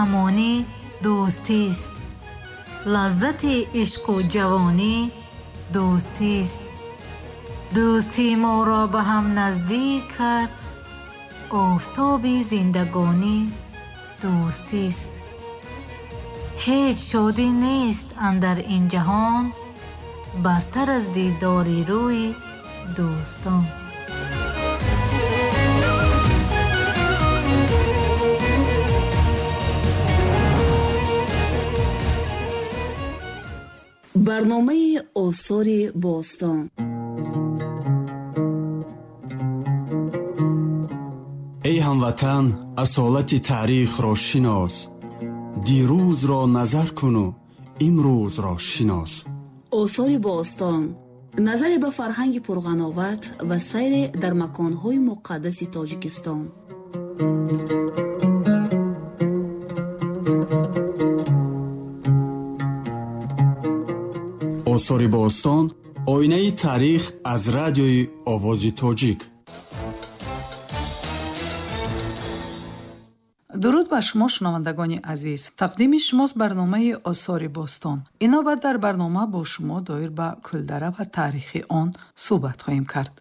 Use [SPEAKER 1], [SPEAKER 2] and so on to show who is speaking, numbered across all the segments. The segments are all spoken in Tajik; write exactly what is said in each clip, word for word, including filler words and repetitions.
[SPEAKER 1] амонӣ дӯстист. Лаззати ишқу ҷавонӣ дӯстист. Дӯстӣ моро ба ҳам наздик кард, офтоби зиндагонӣ дӯстист. Ҳеҷ шодӣ нест андар ин ҷаҳон, бартар аз дидори рӯи дӯстон.
[SPEAKER 2] Барномаи осори бостон.
[SPEAKER 3] Эй ҳамватан, асолати таърихро шинос, дирӯзро назар куну имрӯзро шинос.
[SPEAKER 2] Осори бостон назаре ба фарҳанги пурғановат ва сайре дар маконҳои муқаддаси Тоҷикистон.
[SPEAKER 3] Осори бостон оинаи таърих аз радиои Овози Тоҷик.
[SPEAKER 4] Дуруд ба шумо, шунавандагони азиз. Тақдими шумост барномаи Осори бостон. Ин навбат дар барнома бо шумо доир ба Кӯлдара ва таърихи он суҳбат хоҳем кард.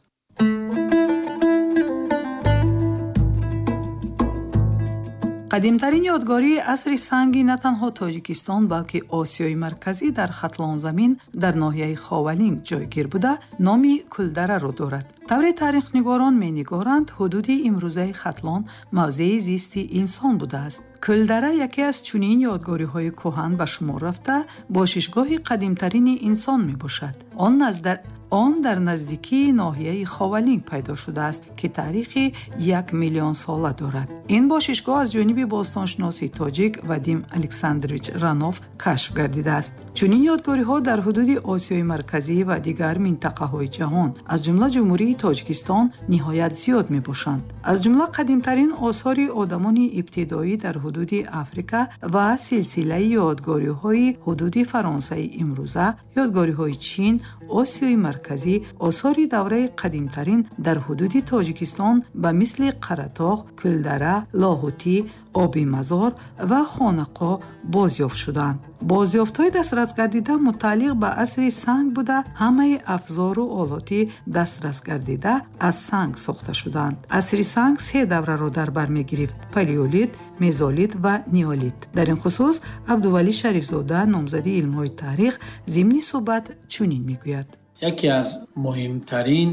[SPEAKER 4] Қадимтарин ёдгории асри санги на танҳо Тоҷикистон, балки Осиёи Марказӣ дар Хатлонзамин дар ноҳияи Ховалинг ҷойгир буда, номи Кӯлдараро дорад. Тавре таърихнигорон менигоранд, ҳудуди имрӯзаи Хатлон мавзеи зисти инсон будааст. Кӯлдара яке аз чунин ёдгориҳои кӯҳан ба шумор рафта, бошишгоҳи қадимтарини инсон мебошад. Он наздар Он дар наздикии ноҳияи Ховалинг пайдо шудааст, ки таърихи як миллион сола дорад. Ин бошишгоҳ аз ҷониби бостоншиноси тоҷик Вадим Александрович Ранов кашф гардидааст. Чунин ёдгориҳо дар ҳудуди Осиёи Марказӣ ва дигар минтақаҳои ҷаҳон, аз ҷумла Ҷумҳурии Тоҷикистон, ниҳоят зиёд мебошанд. Аз ҷумла қадимтарин осори одамони ибтидоӣ дар ҳудуди Африка ва силсилаи ёдгориҳои ҳудуди Фаронсаи имрӯза, ёдгориҳои Чин, Осиёи Марказӣ, осори давраи қадимтарин дар ҳудуди Тоҷикистон ба мисли Қаратоғ, Кӯлдара, Лоҳутӣ, Оби Мазор ва Хонақо бозёфт шуданд. Бозёфтҳои дастрасгардида мутааллиқ ба асри санг буда, ҳамаи афзору олоти дастрасгардида аз санг сохта шуданд. Асри санг се давраро дар бар мегирифт: палеолит, мезолит ва неолит. Дар ин хусус Абдувалӣ Шарифзода, номзади илмҳои таърих, зимни суҳбат чунин мегӯяд.
[SPEAKER 5] Яке аз муҳимтарин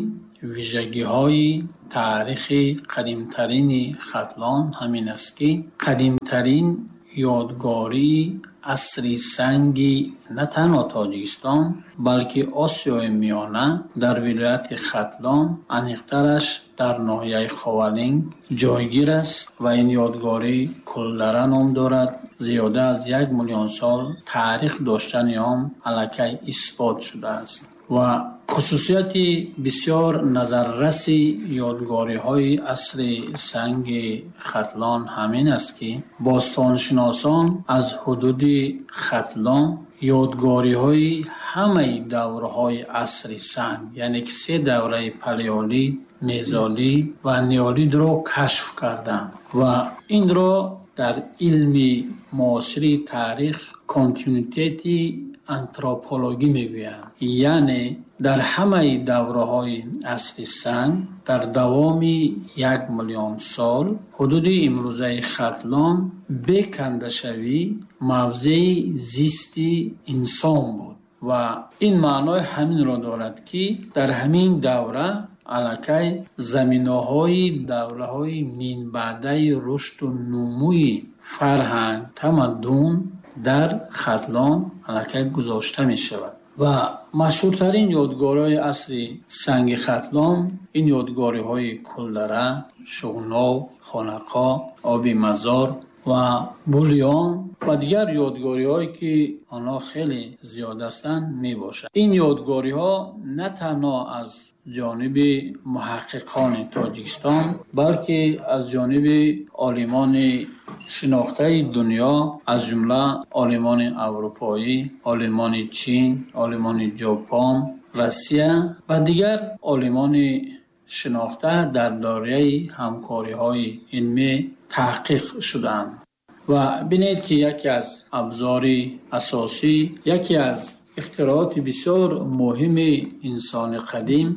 [SPEAKER 5] вижагиҳои таърихи қадимтарини Хатлон ҳамин аст, ки қадимтарин ёдгории асри санги на танҳо Тоҷикистон, балки Осиёи Миёна дар вилояти Хатлон, аниқтараш дар ноҳияи Ховалинг ҷойгир аст ва ин ёдгорӣ Кӯлдара ном дорад. Зиёда аз як миллион сол таърих доштани он аллакай исбот шудааст ва хусусияти бисёр назарраси ёдгориҳои асри санги Хатлон ҳамин аст, ки бостоншиносон аз ҳудуди Хатлон ёдгориҳои ҳамаи давраҳои асри санг, яъне ки се давраи палеолит, мезолит ва неолитро кашф карданд ва инро дар илми муосири таърих континуитети антропологӣ мегӯянд. Яъне дар ҳамаи давраҳои асри санг дар давоми як миллион сол ҳудуди имрӯзаи Хатлон бекандашавӣ мавзеи зисти инсон буд ва ин маънои ҳаминро дорад, ки дар ҳамин давра аллакай заминаҳои давраҳои минбаъдаи рушду нумӯи фарҳанг, тамаддун дар Хатлон аллакай гузошта мешавад. Ва машҳуртарин ёдгориҳои асри санги Хатлон ин ёдгориҳои Кӯлдара, Шуғнов, Хонақо, Оби Мазор ва Булён ва дигар ёдгориҳое, ки онҳо хеле зиёд ҳастанд, мебошанд. Ин ёдгориҳо на танҳо аз ҷониби муҳаққиқони Тоҷикистон, балки аз ҷониби олимони шинохтаи дунё, аз ҷумла олимони аврупоӣ, олимони Чин, олимони Ҷопон, Россия ва дигар олимони шинохта дар доираи ҳамкориҳои илмӣ таҳқиқ шудаанд. Ва бинед ки яке аз абзори асосӣ, яке аз ихтироъоти бисёр муҳими инсони қадим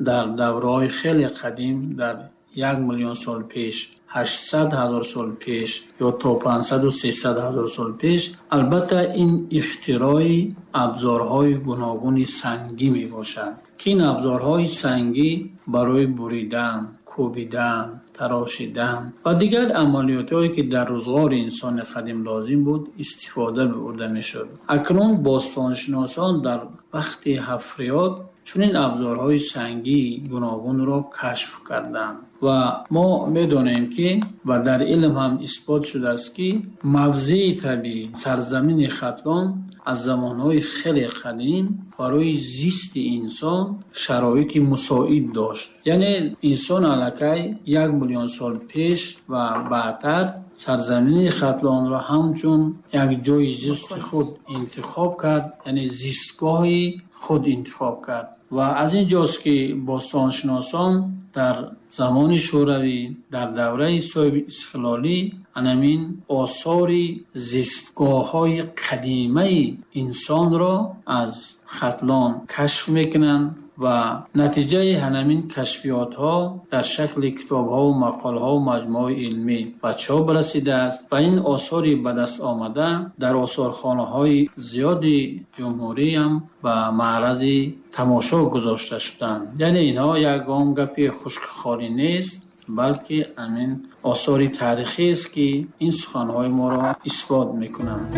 [SPEAKER 5] дар давраҳои хеле қадим, дар як миллион сол пеш, ҳаштсад ҳазор сол пеш ё то панҷсаду сесад ҳазор сол пеш, албатта ин ихтирои абзорҳои гуногуни сангӣ мебошад, ки ин абзорҳои сангӣ барои буридан, кӯбидан, тарошидан ва дигар амалиётҳое ки дар рӯзғори инсони қадим лозим буд истифода бурда мешуд. Акнун бостоншиносон дар вақти ҳафриёт чунин абзорҳои сангии гуногунро кашф карданд ва мо медонем ки ва дар илм ҳам исбот шудааст ки мавзеи табиӣ сарзамини Хатлон аз замонҳои хеле қадим барои зисти инсон шароити мусоид дошт. Яъне инсон аллакай як миллион сол пеш ва баъдтар сарзамини Хатлонро ҳамчун як ҷои зисти худ интихоб кард, яъне зистгоҳи худ интихоб кард. Ва аз ин ҷост ки бостоншиносон дар замони Шӯравӣ, дар давраи соҳиби истиқлолӣ анамин осори зистгоҳҳои қадимаи инсонро аз Хатлон кашф мекунанд ва натиҷаи ҳамин кашфиётҳо дар шакли китобҳо ва мақолаҳо ва маҷмӯаҳои илмӣ ба чоп расидааст ва ин осори ба даст омада дар осорхонаҳои зиёди ҷумҳурӣ ҳам ба маърази тамошо гузошта шуданд. Яъне инҳо ягон гапи хушкхолӣ нест, балки ҳамин осори таърихӣ аст ки ин суханҳои моро исбот мекунанд.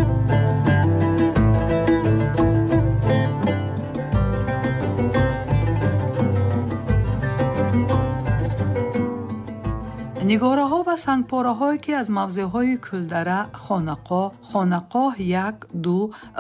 [SPEAKER 4] Нигораҳо ва сангпораҳое ки аз мавзеъҳои Кӯлдара, Хонақоҳ, Хонақоҳ як, ду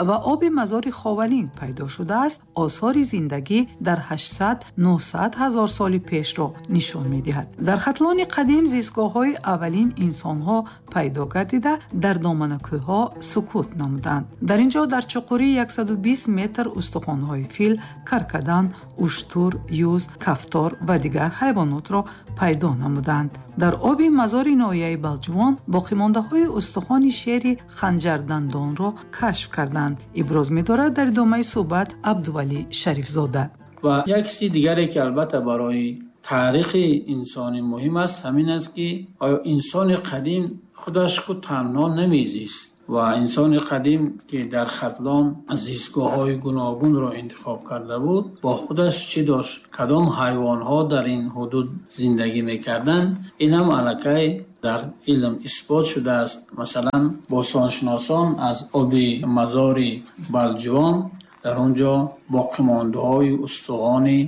[SPEAKER 4] ва оби мазори Ховалинг пайдо шудааст, осори зиндагӣ дар ҳаштсад нӯҳсад ҳазор соли пешро нишон медиҳад. Дар Хатлони қадим зистгоҳҳои аввалин инсонҳо пайдо гардида, дар доманакӯҳҳо сукут намуданд. Дар ин ҷо дар чуқурии яксаду бист метр устухонҳои фил, каркадан, уштур, юз, кафтор ва дигар ҳайвонотро пайдо намуданд. Дар оби мазори ноҳияи Балҷувон боқимондаҳои устухони шери ханҷардандонро кашф карданд. Иброз медорад дар идомаи суҳбат Абдувалӣ Шарифзода.
[SPEAKER 5] Ва як чизи дигаре ки албатта барои таърихи инсонӣ муҳим аст ҳамин аст ки оё инсони қадим худаш ку танҳо намезист ва инсони қадим ки дар Хатлон зистгоҳҳои гуногунро интихоб карда буд, бо худаш чӣ дошт, кадом ҳайвонҳо дар ин ҳудуд зиндагӣ мекарданд, ин ҳам аллакай дар илм исбот шудааст. Масалан, бостоншиносон аз оби мазори Балҷувон дар он ҷо боқимондаҳои устухони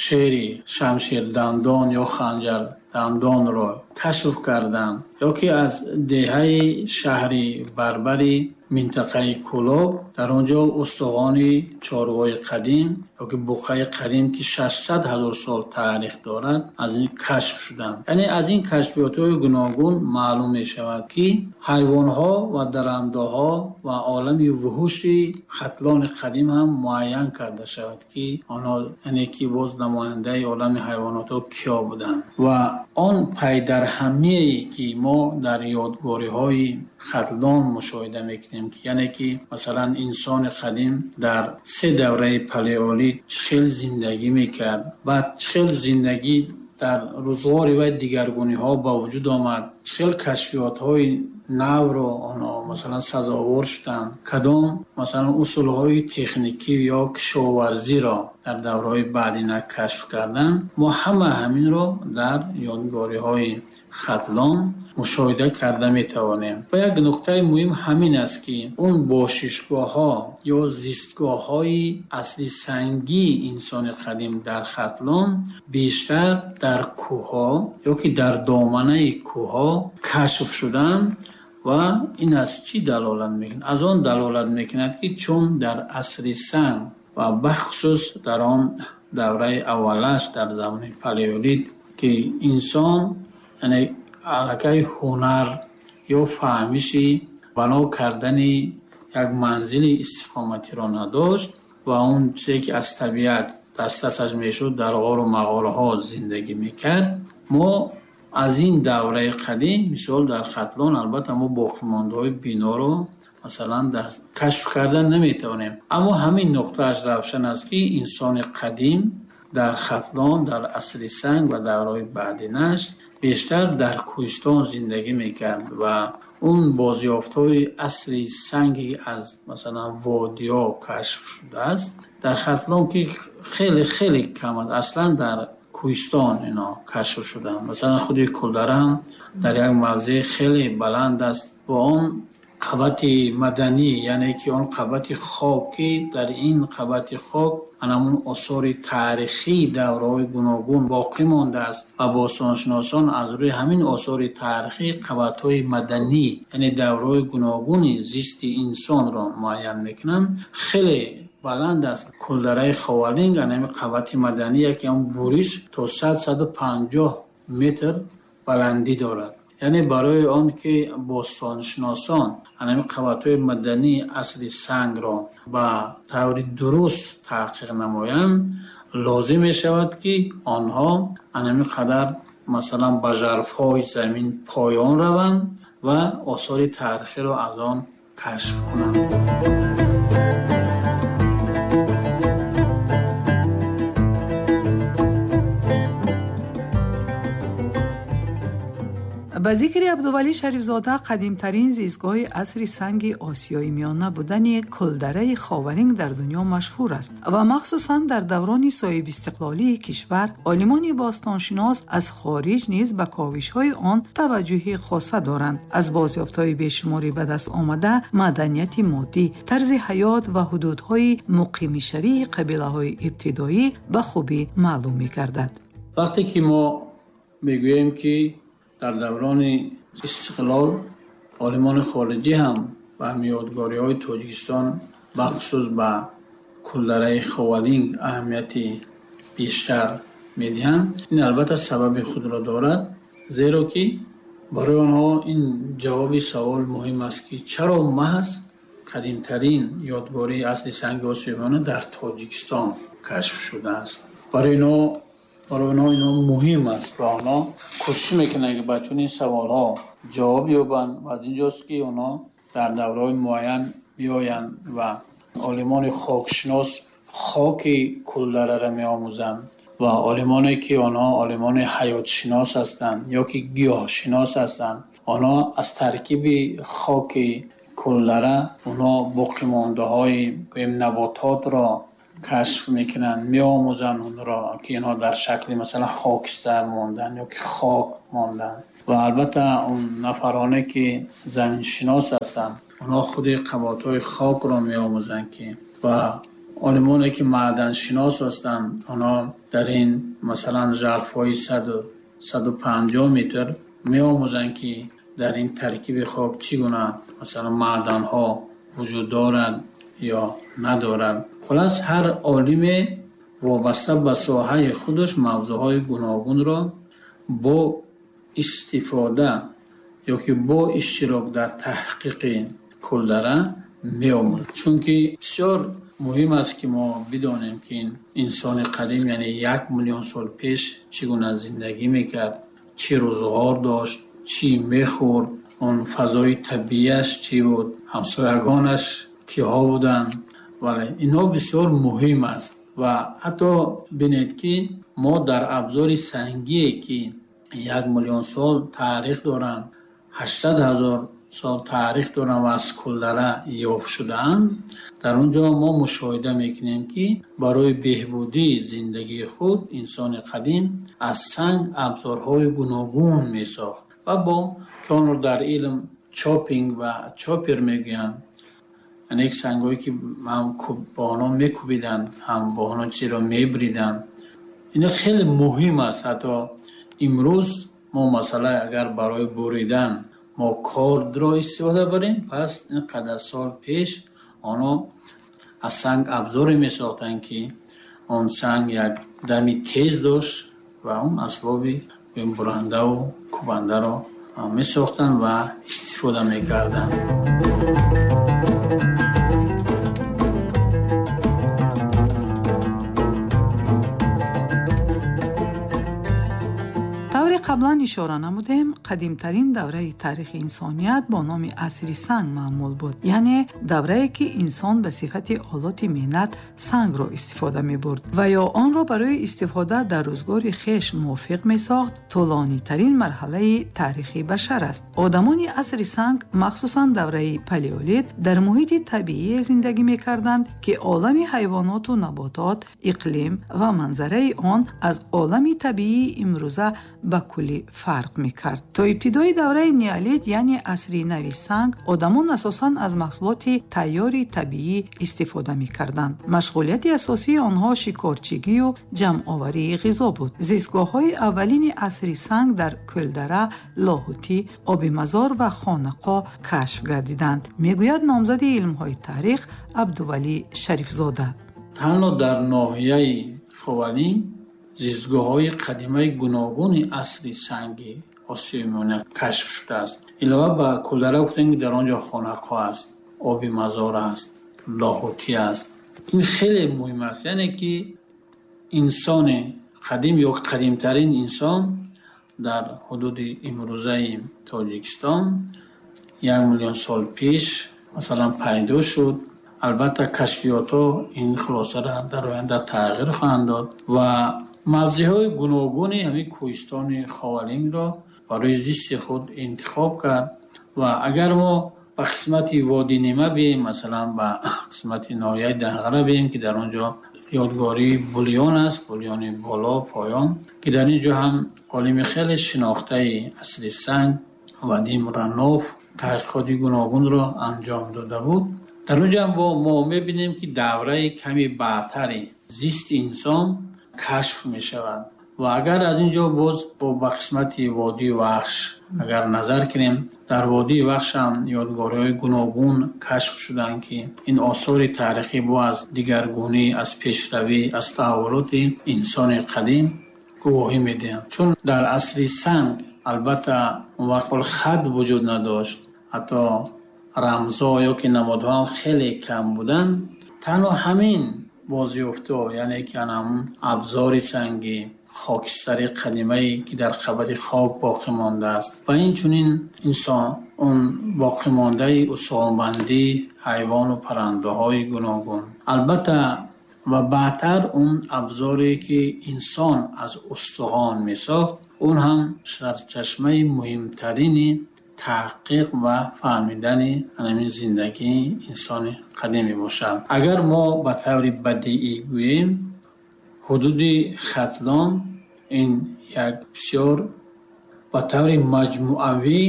[SPEAKER 5] шери шамшердандон ё ханҷардандонро кашф карданд, ё ки аз деҳаи шаҳри Барбари минтақаи Кӯлоб дар он ҷо устухони чорвои қадим ё ки буқаи қадим ки шашсад ҳазор сол таърих дорад аз ин кашф шуданд. Яъне аз ин кашфиётҳои гуногун маълум мешавад ки ҳайвонҳо ва дарандаҳо ва олами вуҳуши Хатлони қадим ҳам муайян карда шавад ки онҳо, яъне ки боз намояндаи олами ҳайвонотҳо киё буданд. Ва он пайдарҳамие ки мо дар ёдгориҳои Хатлон мушоҳида мекунем, яъне ки масалан инсони қадим дар се давраи палеолит чӣ хел зиндагӣ мекард, баъд чӣ хел зиндагӣ дар рӯзғори вай дигаргуниҳо ба вуҷуд омад, чӣ хел кашфиётҳои навро онҳо масалан сазовор шуданд, кадом масалан усулҳои техникӣ ё кишоварзиро дар давраҳои баъдина кашф карданд. Мо ҳама ҳаминро дар ёдгориҳои Хатлон мушоҳида карда метавонем. Ва як нуқтаи муҳим ҳамин аст ки он бошишгоҳҳо ё зистгоҳҳои асли сангии инсони қадим дар Хатлон бештар дар кӯҳҳо ё ки дар доманаи кӯҳҳо кашф шуданд. Ва ин аз чӣ далолат мекунад? Аз он далолат мекунад ки чун дар асри санг ва бахусус дар он давраи аввалаш дар замони палеолит ки инсон яъне аллакай ҳунар ё фаҳмиши бано кардани як манзили истиқоматиро надошт ва он чизе ки аз табиат дастрасаш мешуд дар ғору мағораҳо зиндагӣ мекард, мо Аз ин давраи қадим, мисол дар Хатлон, албатта мо боқимондаҳои биноро масалан кашф кардан наметавонем. Аммо ҳамин нуқтааш равшан аст, ки инсони қадим дар Хатлон дар асри санг ва давраҳои баъдинаш бештар дар кӯҳистон зиндагӣ мекард ва он бозёфтҳои асри санги аз масалан водиҳо кашф шудааст дар Хатлон, ки хеле хеле кам аст, аслан дар кӯҳистон ино кашф шуданд. Масалан худи Кулдара ҳам дар як мавзеи хеле баланд аст ва он қабати маданӣ, яъне ки он қабати хокӣ, дар ин қабати хок анамун осори таърихии давраҳои гуногун боқӣ мондааст ва бостоншиносон аз рӯи ҳамин осори таърихӣ қабатҳои маданӣ, яъне давраҳои гуногуни зисти инсонро муайян мекунанд. Хеле баланд аст Кулдараи Ховалинг, анами қабати маданӣ, яке он буриш то сад саду панҷоҳ метр баландӣ дорад. Яъне барои он ки бостоншиносон анами қабатҳои мадании асри сангро ба таври дуруст таҳқиқ намоянд, лозим мешавад, ки онҳо анами қадар масалан ба жарфҳои замин поён раванд ва осори таърихиро аз он кашф кунанд.
[SPEAKER 4] Ба зикри Абдувалӣ Шарифзода, қадимтарин зистгоҳи асри санги Осиёи Миёна будани Кулдараи Ховалинг дар дунё машҳур аст ва махсусан дар даврони соҳибистиқлолии кишвар олимони бостоншинос аз хориҷ низ ба ковишҳои он таваҷҷӯҳи хоса доранд. Аз бозёфтҳои бешумори ба даст омада маданияти моддӣ, тарзи ҳаёт ва ҳудудҳои муқимишавии қабилаҳои ибтидоӣ ба хубӣ маълум мегардад.
[SPEAKER 5] Вақте ки мо мегӯем, ки дар даврони истиқлол олимони хориҷӣ ҳам ба ёдгориҳои Тоҷикистон, бахусус ба Кулдараи Ховалинг аҳамияти бештар медиҳанд, ин албатта сабаби худро дорад, зеро ки барои онҳо ин ҷавоби савол муҳим аст, ки чаро маҳз қадимтарин ёдгории асри санги Осиёи Миёна дар Тоҷикистон кашф шудааст. Барои инҳо барои онҳо ино муҳим аст ва онҳо кӯшиш мекунанд, ки ба чунин саволҳо ҷавоб ёбанд ва аз инҷост, ки онҳо дар давраҳои муайян меоянд ва олимони хокшинос хоки Кулдараро меомӯзанд ва олимоне, ки онҳо олимони ҳаётшинос ҳастанд ё ки гиёҳшинос ҳастанд, онҳо аз таркиби хоки Кулдара онҳо боқимондаҳои набототро кашф мекунанд, меомӯзанд онро, ки инҳо дар шакли масалан хокистар монданд ё ки хок монданд. Ва албатта он нафароне, ки заминшинос ҳастанд, онҳо худи қабатҳои хокро меомӯзанд, ки ва олимоне, ки маъданшинос ҳастанд, онҳо дар ин масалан жарфҳои саду панҷоҳ метр меомӯзанд, ки дар ин таркиби хок чӣ гуна масалан маъданҳо вуҷуд доранд ё надоранд. Хулас, ҳар олиме вобаста ба соҳаи худаш мавзӯъҳои гуногунро бо истифода ё ки бо иштирок дар таҳқиқи Кулдара меомӯзад. Чунки бисёр муҳим аст, ки мо бидонем, ки ин инсони қадим, яъне як миллион сол пеш чӣ гуна зиндагӣ мекард, чӣ рӯзғор дошт, чӣ мехӯрд, он фазои табиияш чӣ буд, ҳамсоягонаш киҳо буданд. Вале инҳо бисёр муҳим аст ва ҳатто бинед, ки мо дар абзори сангие, ки як миллион сол таърих доранд, ҳаштсад ҳазор сол таърих доранд ва аз Кулдара ёфт шудаанд, дар он ҷо мо мушоҳида мекунем, ки барои беҳбудии зиндагии худ инсони қадим аз санг абзорҳои гуногун месохт ва бо ки онро дар илм чопинг ва чопер мегӯянд, яъне сангҳое, ки ҳам бо онҳо мекӯбиданд, ҳам бо онҳо чизеро мебриданд. Ин хеле муҳим аст. Ҳатто имрӯз мо масалан агар барои буридан мо кордро истифода барем, пас ин қадар сол пеш онҳо аз санг абзоре месохтанд, ки он санг як дами тез дошт ва он асбоби бурандаву кӯбандаро месохтанд ва истифода мекарданд.
[SPEAKER 4] Тавре қаблан ишора намудем, қадимтарин давраи таърихи инсоният бо номи асри санг маъмул буд, яъне даврае ки инсон ба сифати олоти меҳнат сангро истифода мебурд ва ё онро барои истифода дар рӯзгори хеш мувофиқ месохт. Тӯлонитарин марҳалаи таърихи башар аст. Одамони асри санг, махсусан давраи палеолит, дар муҳити табиие зиндагӣ мекарданд, ки олами ҳайвоноту наботот, иқлим ва манзараи он аз олами табиии имрӯза ба куллӣ фарқ мекард. То ибтидои давраи неолит, яъне асри нави санг, одамон асосан аз маҳсулоти тайёри табиӣ истифода мекарданд. Машғулияти асосии онҳо шикорчигию ҷамъоварии ғизо буд. Зистгоҳҳои аввалини асри санг дар Кӯлдара, Лоҳутӣ, Обимазор ва Хонақо кашф гардиданд, мегӯяд номзади илмҳои таърих Абдувалӣ Шарифзода.
[SPEAKER 5] Танҳо дар ноҳияи Ховалинг зистгоҳҳои қадимаи гуногуни асри санги Осиёи Миёна кашф шудааст. Илова ба Кӯлдара гуфтем, ки дар он ҷо Хонақо аст, Оби Мазор аст, Лоҳутӣ аст. Ин хеле муҳим аст, яъне ки инсони қадим ё қадимтарин инсон дар ҳудуди имрӯзаи Тоҷикистон як миллион сол пеш масалан пайдо шуд. Албатта кашфиётҳо ин хулосаро дар оянда тағйир хоҳанд дод ва мавзеъҳои гуногуни ҳамин кӯҳистони Ховалингро барои зисти худ интихоб кард. Ва агар мо ба қисмати Водии Нима бием, масалан ба қисмати ноҳияи Данғара бием, ки дар он ҷо ёдгории Булён аст, Булёни боло поён, ки дар ин ҷо ҳам олими хеле шинохтаи асри санг Вадим Ранов таҳқиқоти гуногунро анҷом дода буд. Дар он ҷо ҳам мо мебинем, ки давраи ками баъдтари зисти инсон кашф мешавад. Ва агар аз ин ҷо боз ба қисмати Водии Вахш агар назар кунем, дар Водии Вахш ҳам ёдгориҳои гуногун кашф шуданд, ки ин осори таърихӣ бо аз дигаргунӣ, аз пешравӣ, аз таҳаввулоти инсони қадим гувоҳӣ медиҳанд. Чун дар асри санг албатта он вақт хат вуҷуд надошт, ҳатто рамзҳо ё ки намодҳо ҳам хеле кам буданд. Танҳо ҳамин бозёфтҳо, яъне ки ҳамон абзори сангӣ, хокистари қадимае ки дар қабати хок боқӣ мондааст ва инчунин инсон он боқимондаи устухонбандии ҳайвону паррандаҳои гуногун, албатта ва баъдтар он абзоре ки инсон аз устухон месохт, он ҳам сарчашмаи муҳимтарини таҳқиқ ва фаҳмидани ҳамин зиндагии инсони қадим мебошад. Агар мо ба таври бадиӣ гӯем, ҳудуди Хатлон ин як бисёр ба таври маҷмӯавӣ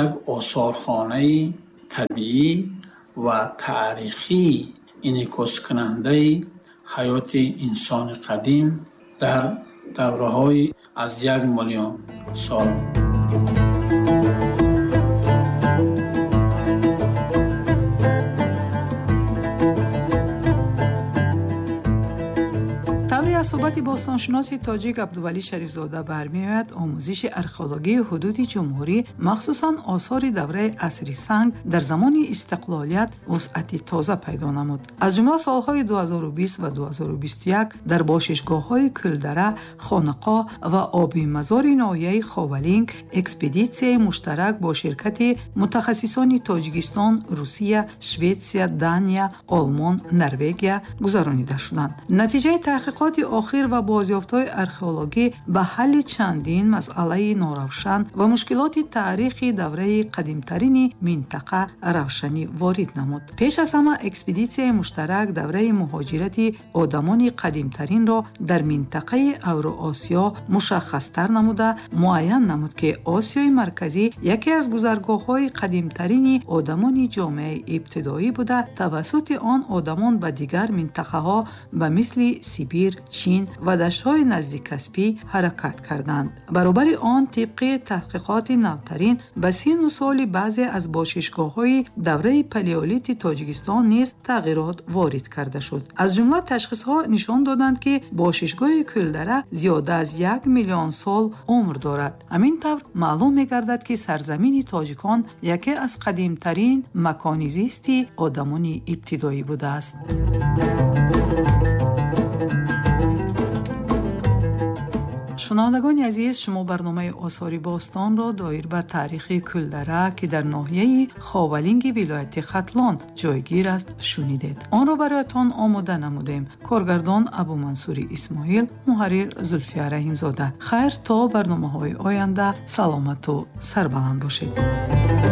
[SPEAKER 5] як осорхонаи табиӣ ва таърихӣ инъикоскунандаи ҳаёти инсони қадим дар давраҳои аз як миллион сол.
[SPEAKER 4] Аз суҳбати бостоншиноси тоҷик Абдувалӣ Шарифзода бармеояд, омӯзиши археологии ҳудуди ҷумҳурӣ, махсусан осори давраи асри санг дар замони истиқлолият вусъати тоза пайдо намуд. Аз ҷумла солҳои ду ҳазору бист ва ду ҳазору бисту як дар бошишгоҳҳои Кӯлдара, Хонақо ва Оби Мазори ноҳияи Ховалинг экспедитсияи муштарак бо ширкати мутахассисони Тоҷикистон, Русия, Шветсия, Дания, Олмон, Норвегия гузаронида шуданд. Натиҷаи таҳқиқоти охир ва бозёфтҳои археологӣ ба ҳалли чандин масъалаи норавшан ва мушкилоти таърихи давраи қадимтарини минтақа равшанӣ ворид намуд. Пеш аз ҳама экспедитсияи муштарак давраи муҳоҷирати одамони қадимтаринро дар минтақаи Авроосиё мушаххастар намуда, муайян намуд, ки Осиёи Марказӣ яке аз гузаргоҳҳои қадимтарини одамони ҷомеаи ибтидоӣ буда, тавассути он одамон ба дигар минтақаҳо ба мисли Сибир, Чин ва даштҳои наздикаспӣ ҳаракат карданд. Баробари он, тибқи таҳқиқоти навтарин ба сину соли баъзе аз бошишгоҳҳои давраи палеолити Тоҷикистон низ тағйирот ворид карда шуд. Аз ҷумла ташхисҳо нишон доданд, ки бошишгоҳи Кӯлдара зиёда аз як миллион сол умр дорад. Ҳамин тавр маълум мегардад, ки сарзамини тоҷикон яке аз қадимтарин макони зисти одамони ибтидоӣ будааст. Шунавандагони азиз, шумо барномаи осори бостонро доир ба таърихи Кӯлдара, ки дар ноҳияи Ховалинги вилояти Хатлон ҷойгир аст, шунидед. Онро бароятон омода намудем. Коргардон Абумансури Исмоил, муҳаррир Зулфия Раҳимзода. Хайр, то барномаҳои оянда саломату сарбаланд бошед.